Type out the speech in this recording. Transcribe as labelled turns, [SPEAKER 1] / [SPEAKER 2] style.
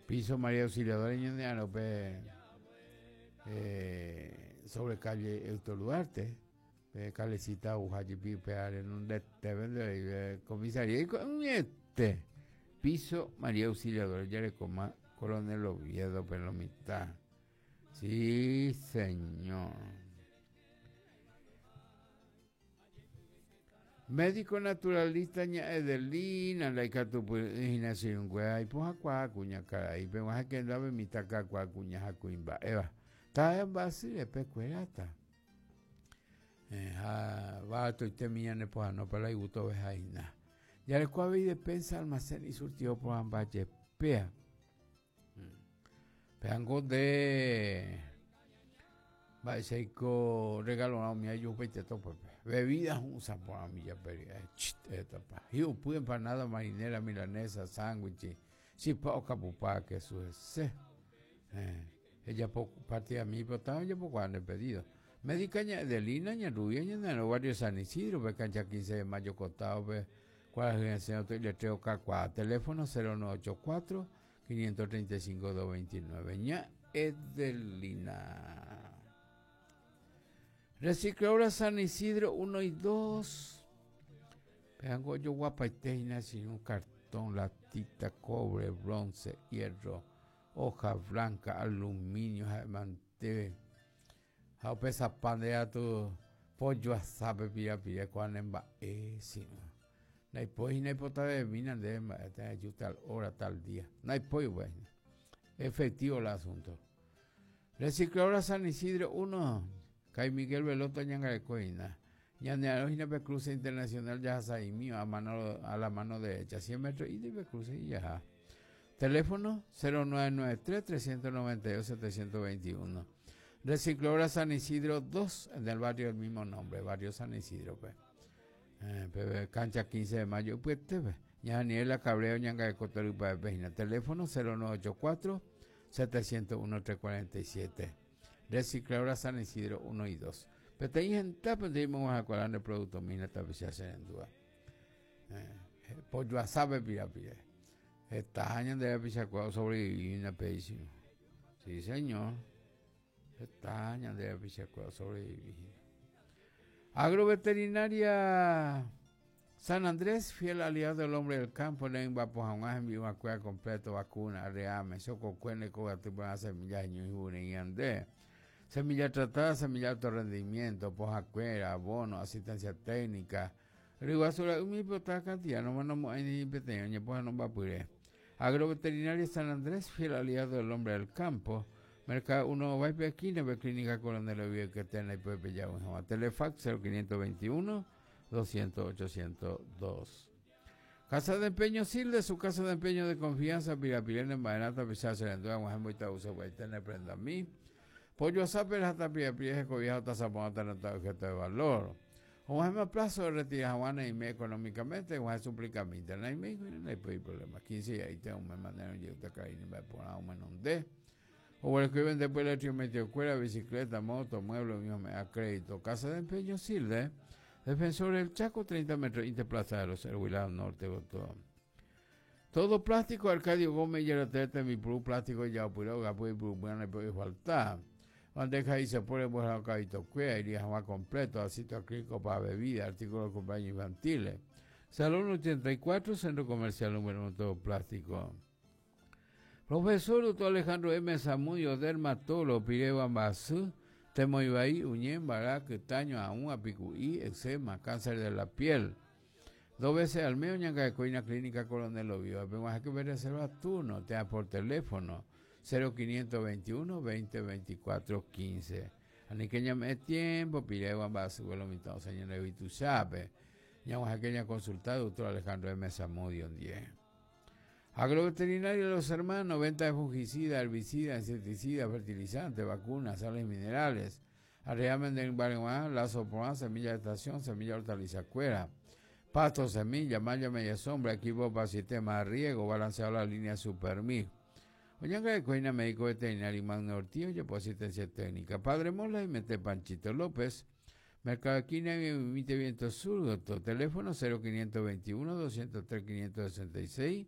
[SPEAKER 1] Piso María Auxiliadora ñane pe eh, sobre calle Héctor Duarte. Pe calecita uha jepi upéva renondete nde comisaría iko'ẽete. Piso María Auxiliadora jarekóma Coronel Oviedo pe lo mitã. Sí, señor. Médico naturalista ña Edelina ndaikatupyry'ỹ hína che irũnguéra ipohãkuaa kuñakarai peg̃uahẽ kendápe mitã kakuaa kuña ha kuimba'éva. Taha'e mba'asy repe kueráta. Eh, ha baratoitemi ñanepohãno para igusto hína. Jareko avei despensa, almacén y surtido porãmba jepéa. Péango nde mba'éichaiko regalorã umi ajuhupaite tópepe. Bebida hu'ũsa porã umi japeri. Etapa. Hi'upy empanada marinera, milanesa, sándwich, chipa okapupa kesu hese. Ejapo partida mi pota ojapokuaa nde pedido. Médica ña Edelina, ña Rubia, ñane barrio San Isidro, pe cancha 15 de mayo costado-pe, kuarahy resẽ oto iletrero kakuaa. Teléfono 0984 535 229. Ña Edelina. Recicladora San Isidro 1 y 2. Peango ojoguapaite hína un cartón, latita, cobre, bronce, hierro, hoja blanca, aluminio, ha'emante. Ha upe sapa nde atu pojoasápe pirapire kóa ne mba'e chi'ũ. Ndaipói hína ipotavevemína ndéve mba'e térã eju tal hora, tal día. Ndaipói upéva hína. Efectivo la asunto. Recicladora San Isidro 1, Kay Miguel Veloto ñangareko hína. Ñane arõ hína pe cruce internacional jahasaimi a mano a la mano derecha, 100 metros y pe cruce y jaha. Teléfono 0993 392 721. Recicladora San Isidro 2, en el barrio del mismo nombre, barrio San Isidro. Pe. Eh, pe cancha 15 de mayo, upete, pe. Ña Daniela Cabrera ñangareko torypa pe hína. Teléfono 0984 701 347. Recicladora San Isidro 1 y 2. Peteĩ hendápe ndeimo'ãhakuaa nde producto mina tapicha che rendúva. Eh, pojoasápe pirapire. Heta ñande rapichakuéra osobrevivi hína péicha. Sí, señor. Heta ñande rapichakuéra osobrevivi hína. Agroveterinaria San Andrés, fiel aliado del hombre del campo, nembapo hag̃ua hembi'uakuéra completo, vacuna, arreame, chokokue, ndekogaty porã, semilla heñói hu'urei ñande. Semilla tratada, semilla alto rendimiento, pohãkuéra, abono, asistencia técnica, ryguasu ra'y pota cantidad nomanomo'ãi ni peteĩ oñepohãnombapyre. Agroveterinaria San Andrés, fiel aliado del hombre del campo, Mercado 1 Ovaispe esquina, pe Clínica Coronel Oviedo que está en la IPP Yagüe Telefax 0521 200 802. Casa de Empeño Silde, su casa de empeño de confianza, Pirapirene, Marenata, Pichá, Serendúa, Guajemboita, Uso, Guaitene, Prenda Mí. Pollo Asape, Jata, Pirapire, Cobija, Tazapón, Tanata, objeto de valor. Oguahẽma plazo de retira hag̃ua neime económicamente, oguahẽ suplicamínte, naime, ndaipói problema. 15 diaite ome manera ojeúta karai mba'eporã omenonde. Oguereko ivende pues electrodomésticos-kuéra, bicicleta, moto, mueble, umi ome'ẽ crédito. Casa de Empeño Silde, Defensor del Chaco, 30 metros, Inte Plaza de los Héroes, lado norte gotyo. Todo plástico, Arcadio Gómez, Yaratete, tembipuru plástico, ijaopyre, ogapy, ipurupyrã, ndaipói falta. Bandeja isapore, mbohera kavitokuéra, iría hag̃ua completo, vasito acrílico para bebida, artículos de cumpleaños infantiles. Salón 84, Centro Comercial número 1, todo plástico. Profesor Doctor Alejandro M. Zamudio, dermatólogo, piréva mba'asy, temoivai, uñe, mbara, kytaño, aũ, apiku'i, eczema, cáncer de la piel. Dos veces al mes oñangareko hína Clínica Coronel Oviedo. Peg̃uahẽke pe reserva turno térã por teléfono 0521 20 24 15. Aníke ñame'ẽ tiempo piréva mba'asy lo mitã osẽ ñande yvytuchápe. Ñag̃uahẽke ñaconsulta Doctor Alejandro M. Zamudio ndie. Agroveterinario Los Hermanos, venta de fungicida, herbicida, insecticida, fertilizante, vacunas, sales minerales. Arreame mbareguã, lazo porã, semilla de estación, semilla hortaliza cuera. Pasto, semilla, malla, media sombra, equipo para sistema de riego, balanceado la línea Supermix. Oñangareko hína médico veterinario Magno Ortiz, ojapo asistencia técnica. Padre Mola y Mete Panchito López. Mercado Esquina y Emite Viento Sur, doctor. Teléfono 0521 203 566.